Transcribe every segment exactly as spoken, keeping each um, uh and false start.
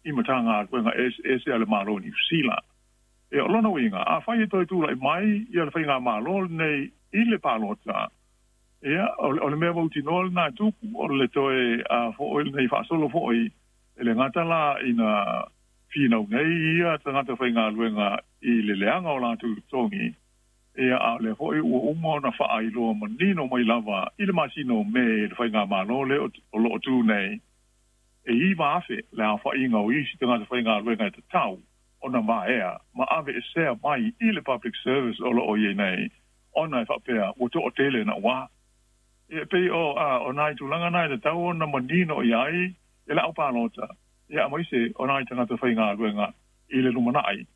i Matagaluega eseese a le Malo o Niu Sila. Ia, o lona uiga, afai e toe tula'i mai ia le faigamālō lenei i le palota, ia, o le mea mautinoa lenā e tupu, o le toe fo'i lenei faasolo fo'i, e le gata la ina finau nei ia tagata faigaluega i le leaga o latou totogi, ia, a o lea foi ua uma ona faailoa manino mai lava i le masina o Me e le faigamālō lea o lo o tu nei, e iva afe le aofaiga o isi tagata faigaluega e tatau ona vaea ma aveesea mai i le public service o lo o i ai nei, ona e faapea ua toatele naua. Ia, e pei o, a, o nai tulaga na e tatau ona manino i ai e le aupalota, ia, aemaise o nai tagata faigaluega i le lumanai.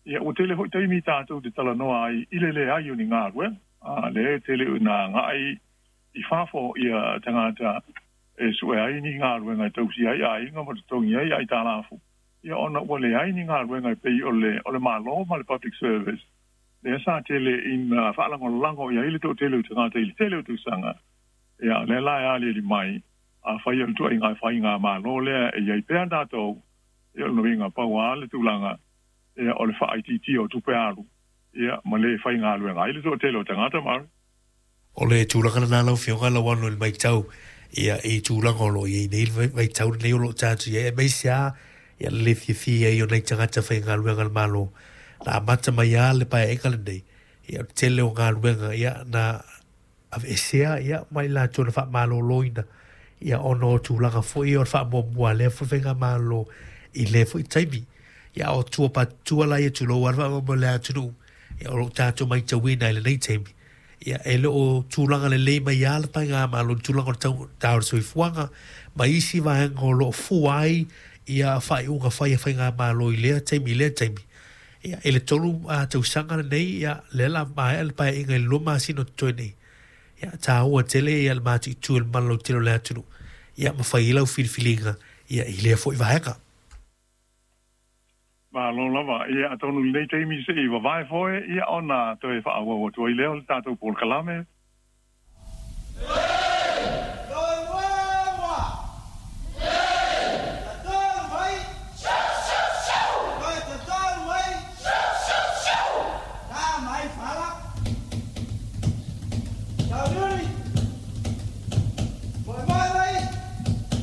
Ia, ua tele foi taimi tatou te talanoa ai i le leai o ni galuega, a, lea e tele ina agai i fafo ia tagata e sue ai ni galuega e tausia ai aiga ma totogi ai aitalafu, ia, ona ua leai ni galuega e pei o le o le Malo ma le public service lea sa tele ina faalagolago i ai le toatele o tagata i le tele o tausaga. Ia, o lea la e aliali mai, afai o le ituaiga faigamālō lea e i ai pea tatou, ia, o le uiga pau lava le tulaga, ia, o le faaitiitia o tupe alu, ia, ma le faigaluega ai le toatele o tagata ma O le tulaga lena lau Afioga Lauano i le matau ia i tulaga o lo o i ai nei le vaitau lenei o lo o tatou i ai, aemaise lava ia le le fiafia ai o nai tagata faigaluega a le Malo na amata mai lava le paeaiga lenei. Ia, o le tele o galuega ia na aveesea ia ma i latou na faamaloloina ia ona o tulaga foi o le faamuamua a lea foi faigamalo i lea foi taimi. Ia, o tua patutua la ia tulou lava le faamoemoe o le atunuu, ia o lo o tatou matauina i lenei taimi, ia e le o tulaga lelei mai lava le faigamalo i le tulaga o le tau o le soifuaga ma isi vaega o lo o fua ai ia faaiuga fai a faigamalo i lea taimi i lea taimi. Ia, i le tolu tausaga lenei, ia lea la maea le paeaiga i le lua masina o totoe nei. Ia, taua tele ia le mati'itū i le mamalu lautele o le atunuu, ia ma fai ai lau filifiliga ia i lea foi vaega. Malo lava. Ia, atonu i lenei taimi se i vavae foe, ia, ona toe faaauau atu ai lea o le tatou polokalame.